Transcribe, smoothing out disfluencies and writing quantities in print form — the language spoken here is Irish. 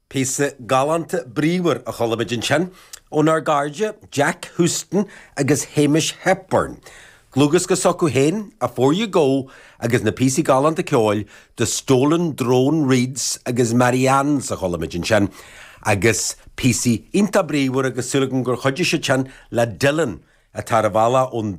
Píosa galánta bríomhar a chuala muid ansin ónár gcairde Jack Houston agus Hamish Hepburn. Dlúthdhiosca s'acu féin, Afore You Go agus na píosaí galánta ceoil The Stolen Drone Reeds agus Marianne's a chuala muid ansin agus píosaí iontach bríomhar agus súil agam gur chuidigh siad sin le Dylan atá ar a bhealach ón.